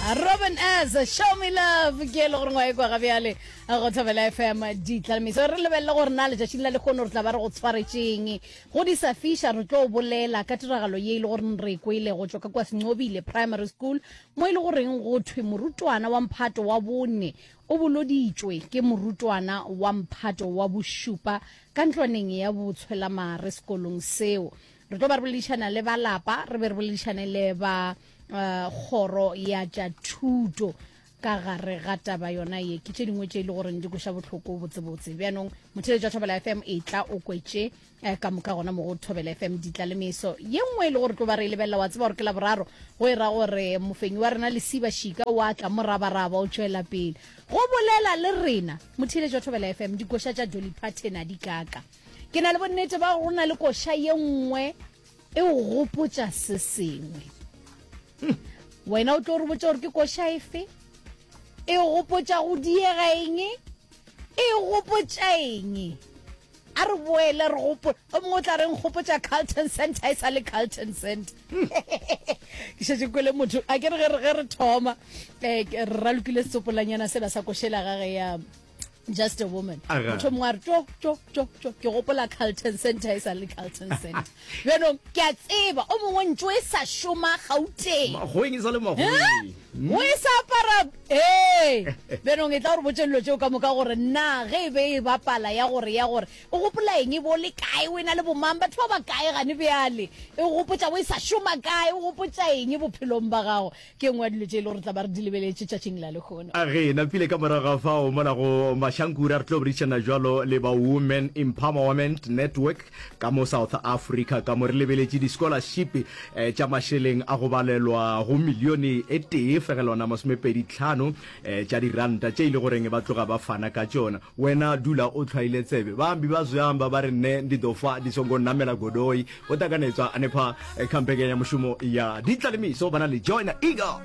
Robin S show me love ke e le gore ngwa e kwa ga bjale go thobela FM ditlalemiso re lebelele gore na letšatšing la lekgono re tla ba re go tshwaretšeng go di sa fiša re tlo bolela ka tiragalo ye e le gore re kwele go tšwa ka kwa Sencobile Primary School mo e le goreng go thwe morutwana wa mphato wa bone o boloditšwe ke morutwana wa mphato wa bošupa ka ntlwaneng ya botshwelamare sekolong seo. Re tlo ba re boledišana le ba lapa, re be re boledišane le ba uh, kgoro ya tša thuto ka gare ga taba yona ye. Ke tše dingwe tše e le goreng di kweša bohloko botsebotse. Bjanong motheletši wa Thobela FM e tla o kwetše eh, ka moka gona mo go Thobela FM ditla le meso. Ye nngwe e le gore tlo ba re e lebelela wa tseba gore ke Laboraro go e ra gore mofenyi wa rena Lesiba Šika o a tla morabaraba o tšwela pele go bolela le rena. Motheletši wa Thobela FM dikoša tša Dolly Parton a di kaka. Ke na le bonnete ba gore go na le koša ye nngwe e o gopotša se sengwe. Wena o tlo re botša gore ke koša efe? E gopotša go diega eng? E gopotša eng? A re boele re gopo o mongwe o tla re nkgopotša Carlton Center e sa le Carlton Center. Ke šetše kwele motho a ke re ge re ge re thoma eh, re ralokile setsopolanyana sela sa košela gage ya just a woman motho mongwe a re tšo tšo tšo tšo ke gopola Carlton Center e sa le Carlton Center bjanong ke a tseba o mongwe ntšo e sa šoma Gauteng Makgoweng e sa le makgoweng o e sa apara ee bjanong e tla gore botše dilo tšeo ka moka gore na ge e be e bapala ya gore ya gore o gopola eng e bo le kae o e na le bomang batho ba ba kae gane bjale e gopotša o e sa šoma kae o gopotša eng bophelong ba gago Ke nngwe ya dilo tše e le gore re tla ba re di lebeletše tšatšing la lehono. A Re napile ka morago ga fao mola go Mashankura re tlo boledišana jwalo le ba Women Empowerment Network ka mo South Africa ka mo re lebeletše di-scholarship eh, tša mašeleng a go balelwa go milione e tee fegelwana 25 eh, tša diranta tše e le goreng ba tloga ba fana ka tšona. Wena dula o hlwaile tsebe. Baambi ba zwi amba ba ri, Nṋe ndi ḓo fa ndi songo namela goloi. Vho ṱanganedzwa hanefha kha mbekanyamushumo ya Ditlalemiso vha na ḽi Joina Eagle.